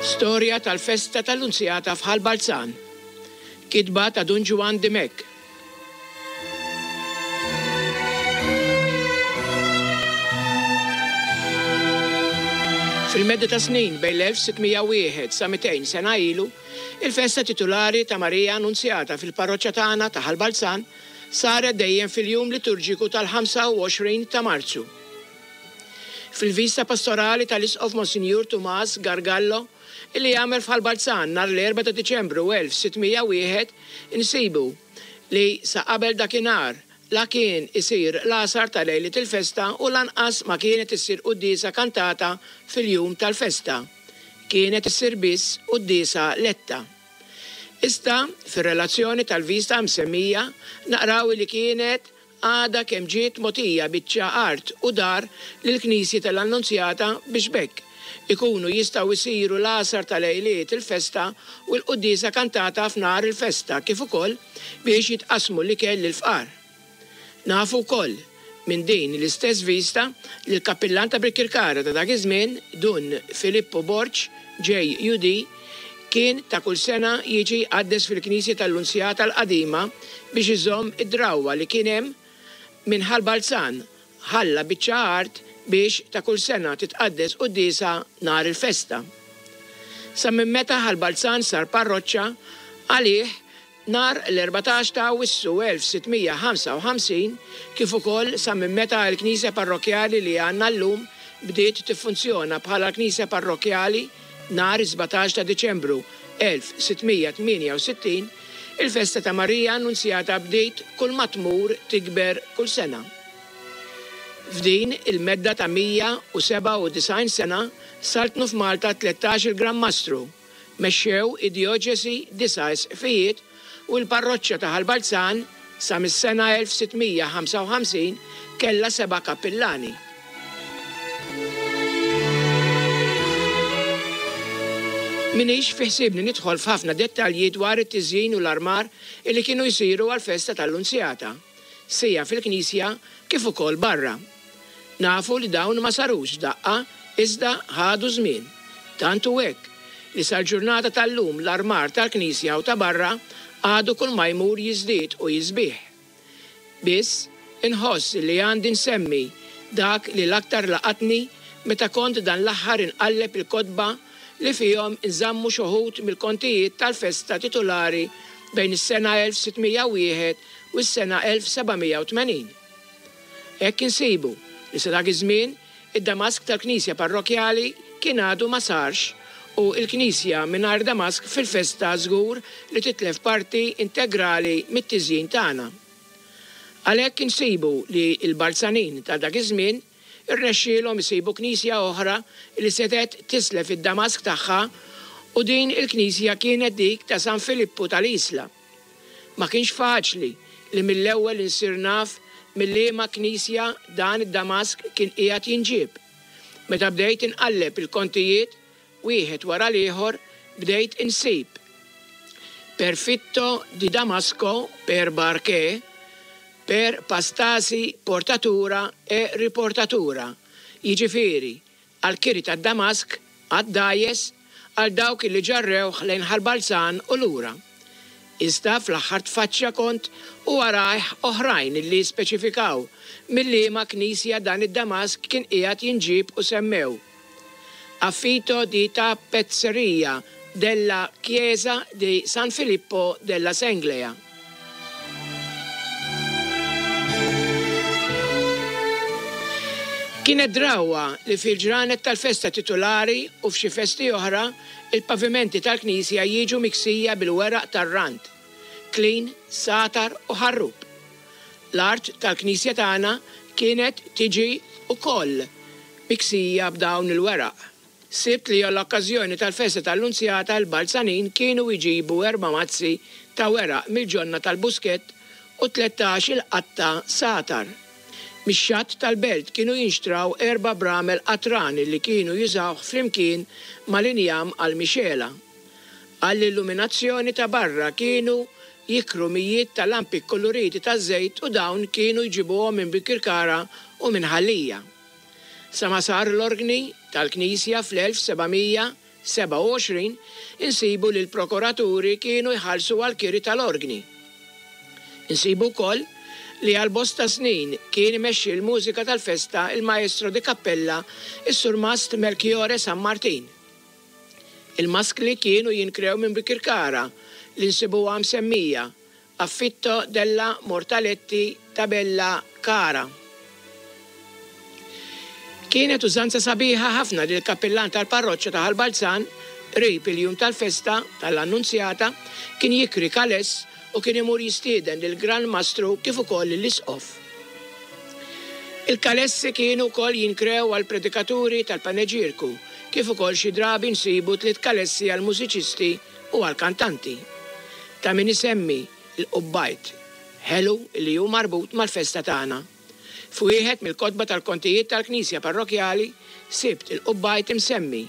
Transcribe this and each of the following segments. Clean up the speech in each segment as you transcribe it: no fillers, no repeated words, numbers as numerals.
Storja tal-festa tal-Lunzjata f'Ħal Balzan. Kitba ta' Dun Ġwann Dimech. Fil-medda ta' snin bejn l-1601 sa 200 sena ilu, il-festa titulari ta' Marija Annunzjata fil-parroċċa tagħna ta' Ħal Balzan saret dejjem fil-jum liturġiku tal-25 ta' Marzu. Fil-vista pastorali tal-Isqof Monsinjur Tumas Gargallo li għamel f'Ħal Balzan nhar l-Erbgħa ta' Diċembru 1601 insibu li sa qabel dakinhar la kien isir l-għasar ta' lejliet il-festa u lanqas ma kienet issir quddiesa kantata fil-jum tal-festa. Kienet issir biss quddiesa letta. Iżda fir-relazzjoni tal-vista msemmija naqraw li kienet għadha kemm ġiet mogħtija biċċa art u dar lill-knisja tal-Annunzjata biex b'hekk ikunu jistgħu jsiru l-għasar ta' lejliet il-festa u l-quddiesa kantata f'nhar il-festa kif ukoll biex jitqassmu l-ikel lill-fqar. Nafu wkoll minn din l-istess vista li l-kappillan ta' Birkirkara ta' dak iż-żmien, Dun Filippu Borg, JUD, kien ta' kull sena jiġi jqaddes fil-knisja tal-Lunzjata l-qadima biex iżomm id-drawwa li kien hemm minn Ħal Balzan ħalla biċċa art biex ta' kull sena titqaddes quddiesa nhar il-festa. Sa minn meta Ħal Balzan sar parroċċa, għalih Nhar l-14 ta' Awwissu 1655, kif ukoll sa minn meta l-knisja parrokkjali li għandna llum bdiet tiffunzjona bħala l-knisja parrokkjali nhar is-17 ta' Diċembru 1668, il-festa ta' Marija Annunzjata bdiet kull ma tmur tikber kull sena. F'din il-medda ta' 197 sena saltnu f'Malta 13-il Gran Mastru, Mexxew id-djoċesi disa' isqfijiet u l-parroċċa ta' Ħal Balzan sa mis-sena 1655 kellha seba' kappillani. M'iniex fi ħsiebni nidħol f'ħafna dettalji dwar it-tiżjin u l-armar illi kienu jsiru għall-festa tal-Lunzjata, sija fil-knisja kif ukoll barra. Nafu li dawn ma sarux f'daqqa iżda ħadu żmien. Tant hu hekk li sal-ġurnata tal-lum l-armar tal-knisja u ta' barra għadu kull ma jmur jiżdied u jisbieħ. Biss, inħoss li għandi nsemmi dak li l-aktar laqatni meta kont dan l-aħħar inqalleb il-kotba li fihom inżammu x'uħud mill-kontijiet tal-festa titulari bejn is-sena 1601 u s-sena 1780. Hekk insibu li sa dak iż-żmien id-damask tal-knisja parrokkjali kien għadu ma sarx u l-knisja mingħajr damask fil-festa żgur li titlef parti integrali mit-tiżjin tagħna. Għalhekk insibu li l-Balzanin ta' dak iż-żmien irnexxielhom isibu knisja oħra li setgħet tislef id-damask tagħha u din il-knisja kienet dik ta' San Filippu tal-Isla. Ma kienx faċli li mill-ewwel insir naf mil-liema knisja dan id-damask kien qiegħed jinġieb. Meta bdejt inqalleb il-kontijiet wieħed wara l-ieħor bdejt insib Perfitto di Damasco per barche, per pastasi portatura e riportatura, jiġifieri għall-kiri tad-damask għad-dgħajjes għal dawk li ġarrewh lejn Ħal Balzan u lura. Iżda fl-aħħar tfaċċja kont u warajh oħrajn li speċifikaw mil-liema knisja dan id-damask kien qiegħed jinġieb u semmew Affito di tappezzeria della chiesa di San Filippo della Senglea. Kienet drawwa li fil-ġranet tal-festa titulari u f'xi festi oħra, il-pavimenti tal-knisja jiġu miksija bil-weraq tar-rand, klin, sagħtar u ħarrub. L-art tal-knisja tagħna kienet tiġi wkoll miksija b'dawn il-weraq. Sibt li għall-okkażjoni tal-festa tal-Lunzjata l-Balzanin kienu jġibu erba' mazzi ta' weraq mill-ġonna tal-Buskett u 13 il-qatta sagħtar. Mix-xatt tal-belt kienu jinxtraw erba' bramel qatran li kienu jużawh flimkien mal-injam għall-mixegħla. Għall-illuminazzjoni ta' barra kienu jikru mijiet ta' lampi kkuluriti taż-żejt u dawn kienu jġibuhom minn Birkirkara u minn Ħal Lija. Sa ma sar l-orgni tal-knisja fl-1789. 1827 insibu li l-prokuraturi kienu jħallsu għall-kiri tal-orgni. Insibu wkoll li għal bosta snin kien imexxi l-mużika tal-festa il-Maestro di Cappella is-Surmast Melchiore San Martin. Il-maskli kienu jinkrew minn Bikirkara li nsibuha msemmija Affitto della Mortaletti Tabella Cara. Kienet użanza sabiħa ħafna li l-kappillan tal-parroċċa ta' Ħal Balzan, qrib il-jum tal-festa tal-Annunzjata, kien jikri kaless u kien imur jistieden lill-Gran Mastru kif ukoll lill-Isqof. Il-kalessi kienu wkoll jinkrew għall-predikaturi tal-paneġierku, kif ukoll xi drabi nsibu tliet kalessi għall-mużiċisti u għall-kantanti. Ta' min isemmi l-qubbajt, ħelu li hu marbut mal-festa tagħna. F'wieħed mill-kotba tal-kontijiet tal-knisja parrokkjali sibt il-qubbajt imsemmi.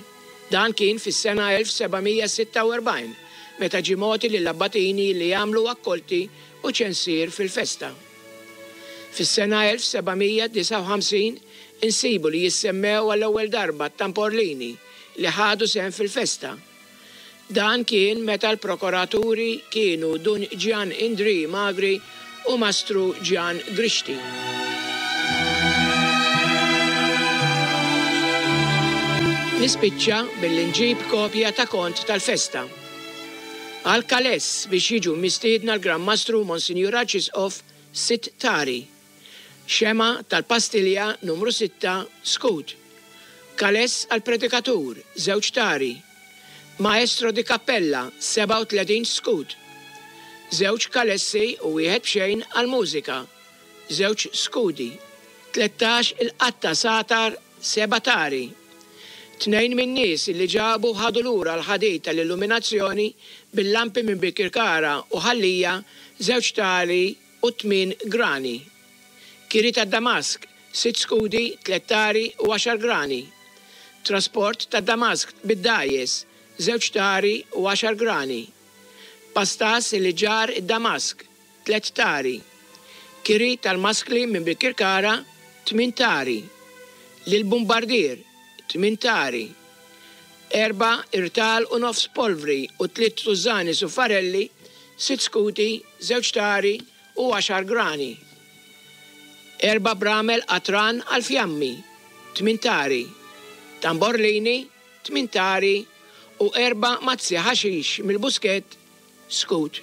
Dan kien fis-sena 1746 meta ġie mogħti lill-abbatini li jagħmlu akkolti u ċensier fil-festa. Fis-sena 1759 insibu li jissemmew għall-ewwel darba t-tamporlini li ħadu sehem fil-festa. Dan kien meta l-prokuraturi kienu Dun Ġjan Indrì Magri u Mastru Ġjan Grixti. Nispiċċa billi nġib kopja ta' kont tal-festa. Għal Calais biex jiġu mistiedna l-Gran Mastru Monsinjur Arċisqof Sitt Tari. Xemgħa tal-pastilja numru sitta, skud. Calais għall-predikatur, żewġ tari. Maestro di cappella, 37 skud. Żewġ kalessi u wieħed b'xejn għall-mużika, żewġ skudi. 13 il-qatta sagħtar, seba' tari. Tnejn min-nies li ġabu ħadu lura l-ħadid tal-illuminazzjoni bil-lampi minn Birkirkara u Ħal Lija, żewġ tari u tmien grani. Kiri tad-Damask, sitt skudi, tliet tari u għaxar grani. Trasport tad-Damask bid-dgħajjes, żewġ tari u għaxar grani. Pastas li ġarr id-Damask, tliet tari. Kiri tal-maskli minn Birkirkara, tmien tari. Lill-bumbardier, tmien tari. Erba' irtal u nofs polvri u tliet tużżani suffarelli, sitt skuti, żewġ tari u għaxar grani. Erba' bramel qatran għall-fjammi, tmien tari. Tamborlini, tmien tari u erba' mazzi ħaxix mill-buskett, skut.